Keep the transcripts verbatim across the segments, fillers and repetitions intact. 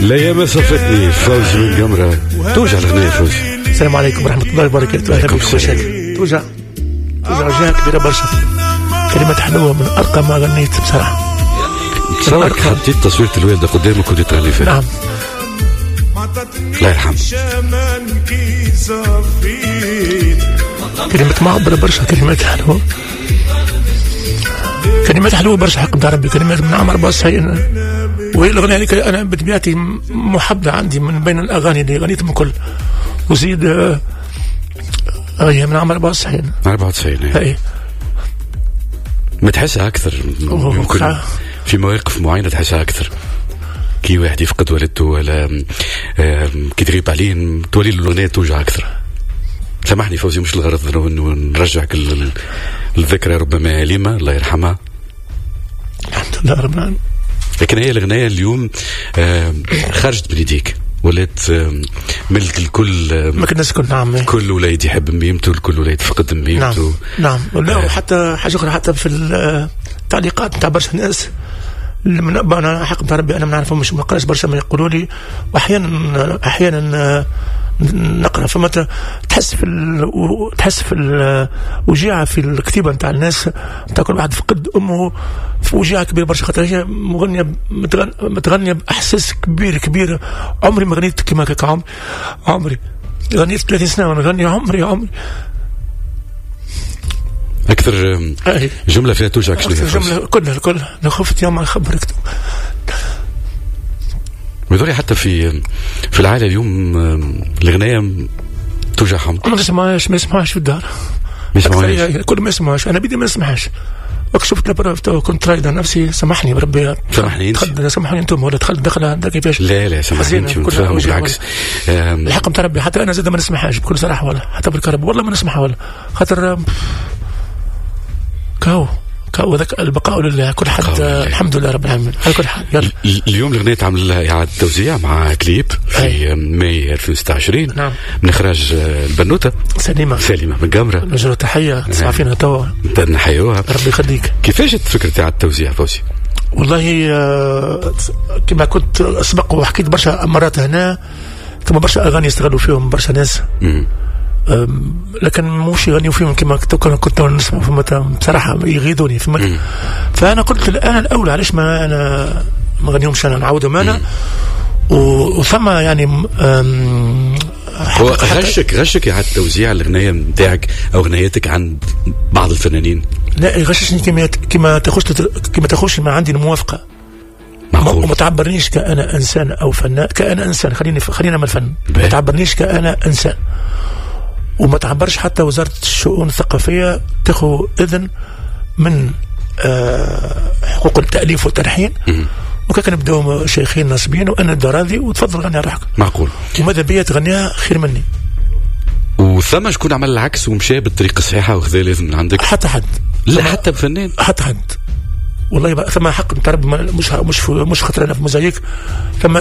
لا ما صفتني فوزي بن قمرة. توجع الأغنية فوزي. السلام عليكم ورحمة الله وبركاته. أهلا بك خويا. توجع توجع وجهة كبيرة برشا. كلمات حلوة من أرقى ما غنيت بصراحة. تصورك حطيت تصويرة الوالدة قدامك وكنت تغني فيها. نعم. الله يرحمه. كلمات معبرة برشا، كلمات حلوة، كلمات حلوة برشا حق نتاع ربي، كلمات من عام أربعة وتسعين. وهي الأغنية هذيك أنا بطبيعتي محبة عندي من بين الأغاني اللي غنيتهم الكل. وزيد هي من عام أربعة وتسعين. أربعة وتسعين. اي ما تحسها أكثر يمكن في مواقف معينة تحسها أكثر، كي واحد يفقد والدته ولا كي تغيب عليه تولي الأغنية توجع أكثر. سامحني فوزي، مش الغرض انه نرجعك الذكرى ربما أليمة، الله يرحمها. الحمد لله رب العالمين. لكن هي الأغنية اليوم خرجت من يديك، ولات ملك الكل. ما كنا الكل. نعم، كل وليد يحب ميمته، الكل وليد فقد ميمته. نعم نعم. لا وحتى حاجة أخرى، حتى في التعليقات نتاع برشا ناس من أنا حق نتاع ربي أنا ما نعرفهمش، ما نقراش برشا، ما يقولوا لي، وأحيانا أحيانا نقرا، فما تحس في ال... تحس في الوجيعه في الكتيبة نتاع الناس نتاع كل واحد فقد امه، في وجيعه كبيرة برشا، خاطر هي مغنيه متغن... متغنيه باحساس كبير كبير. عمري ما غنيت كيما هكاك، عمري عمري غنيت ثلاثين سنة وانا نغني، عمري عمري اكثر جملة فيها توجعك شنو هي؟ جملة كلها كلها انا خفت يوم نخبرك. ويظهر حتى في في العائلة اليوم الغنايه توجعهم. ما نسمعهاش، ما يسمعهاش في الدار، ما يسمعوهاش، كل ما يسمعهاش. انا بدي ما نسمعهاش. شفت la preuve كنت رايد نفسي، سامحني بربي، سامحني انت، سامحوني انتم، ولا دخلت دخله كيفاش؟ لا لا سامحني انت، بالعكس الحق نتاع ربي حتى انا زاد ما نسمعهاش بكل صراحة، ولا حتى بالكرب والله ما نسمعها، ولا خاطر كاو وذاك البقاء لله كل حد. الحمد لله رب العالمين على كل حال. يلا اليوم الاغنية تعمل لها اعاده توزيع مع كليب في ماي ألفين وستة وعشرين. نعم. من اخراج البنوته سليمة سليمة بن قمره. نوجه تحية تسمع فينا توا، نحيوها، ربي يخليك. كيفاش فكرة اعاده التوزيع فوزي؟ والله كما كنت سبق وحكيت برشا مرات هنا، ثم برشا اغاني يستغلوا فيهم برشا ناس، لكن مش يغنيوا فيهم كما كنت نسمع، فما بصراحة يغيظوني. فما فانا قلت انا الاولى، علاش ما انا ما غنيهمش انا، نعاودهم انا. وثم يعني هو غشك غشك اعاده توزيع الاغنية نتاعك او اغنيتك عند بعض الفنانين؟ لا يغششني كما كما تاخذش كما تاخذش ما عندي الموافقة. معقول. وما تعبرنيش كأنا انسان او فنان، كأنا انسان، خليني خلينا من الفن، ما تعبرنيش كأنا انسان، وما تعبرش حتى وزارة الشؤون الثقافية تاخذ إذن من حقوق التأليف والتلحين. وكان نبداو شيخين ناصبين وأنا نبدا راضي وتفضل غني روحك. معقول. وماذا بيا تغنيها خير مني. وثم شكون عمل العكس ومشى بالطريقة الصحيحة وخذا لازم من عندك؟ حتى حد. لا حتى بفنان؟ حتى حد. والله ثم حق نتاع مش مش مش خاطر أنا في موزايك. ثم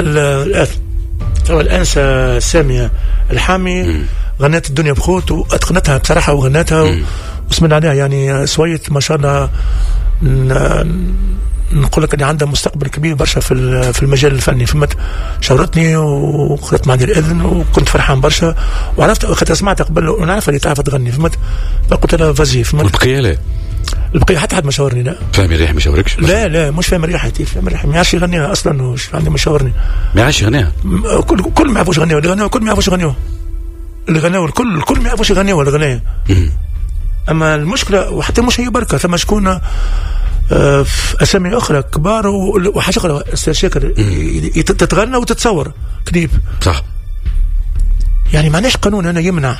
ثم الأنسة سامية الحامي م. غنت الدنيا بخوت واتقنتها بصراحة وغنتها وسمعنا عليها يعني سويت ما شاء الله. نقول لك اللي عندها مستقبل كبير برشا في في المجال الفني. فهمت، شاورتني وخذت معي الاذن وكنت فرحان برشا، وعرفت خاطر سمعتها قبل ونعرف اللي تعرف تغني. فهمت، فقلت لها vas-y. فهمت، والبقية لا، البقية حتى حد ما شاورني. لا فهمي الريح ما شاوركش؟ لا لا مش فاهم الريح، فاهم الريح ما يعرفش يغنيها اصلا، وش عندي ما شاورني، ما يعرفش يغنيها. كل كل ما يعرفوش يغنيوها، اللي غناو كل ما يعرفوش يغنيوها، اللي غناو الكل الكل ما يعرفوش يغنيوها الغنايه. اما المشكلة وحتى مش هي بركة، ثم شكون آه في اسامي اخرى كبار وحاجه اخرى استاذ شاكر تتغنى وتتصور كليب. صح. يعني معناش قانون انا يمنع،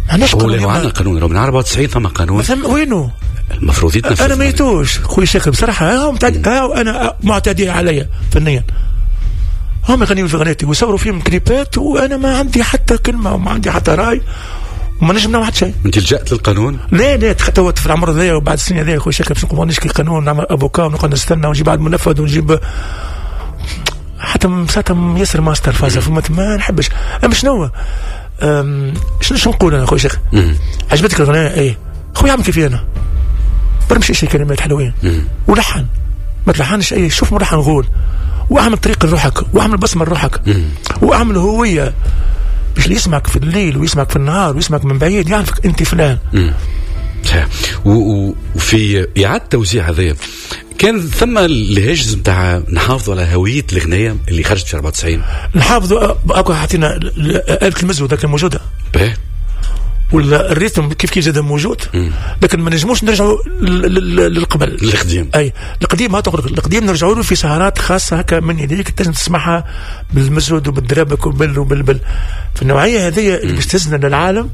معناش قانون. هو عندنا قانون من أربعة وتسعين ثم قانون مثلا وينه المفروض يتنفذ. انا ما يتوش خويا شاكر بصراحة، ها متعد... ها انا معتدي عليا فنيا، هم يغنيوا في غنيتي ويصوروا فيهم كليبات وانا ما عندي حتى كلمة وما عندي حتى راي وما نجم نعمل حتى شيء. انت لجأت للقانون؟ لا لا، توا في العمر هذايا وبعد السنة هذايا خويا شاكر باش نقوم نشكي قانون، نعمل avocat ونقعد نستنى ونجيب على المنفذ ونجيب حتى ساعتها ياسر ماستر فازة. فما ما نحبش. اما شنو شنو شنو نقول انا خويا شاكر؟ عجبتك الغنايه؟ ايه خويا عمل كيفي انا برمشي شي كلمات حلوين ولحن، ما تلحنش اي، شوف ملحن غول واعمل طريق لروحك، واعمل بصمة لروحك، واعمل هوية باش اللي يسمعك في الليل ويسمعك في النهار ويسمعك من بعيد يعرفك انت فلان. صحيح. وفي اعاده التوزيع هذايا كان ثم الهاجس نتاع نحافظوا على هوية الاغنية اللي خرجت في أربعة وتسعين. نحافظوا اكو حطينا آلة المزود كان موجودة. باهي. ولا ال rythme كيف كيف زاد موجود، لكن ما نجموش نرجعوا للقبل القديم. اي القديم، هات القديم نرجعوا له في سهرات خاصة هكا من يديك تنجم تسمعها بالمزود وبالدرابك وبال وبال في النوعية هذه اللي باش تهزنا للعالم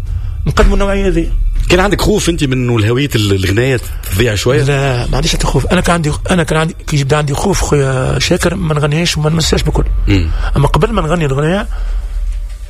نقدموا النوعية هذه. كان عندك خوف انت من الهوية الغنايه تضيع شوية؟ لا ما عنديش حتى خوف. انا كان عندي انا كان عندي كي يبدا عندي خوف خويا شاكر ما نغنيش وما نمساش بكل. اما قبل ما نغني الغنايه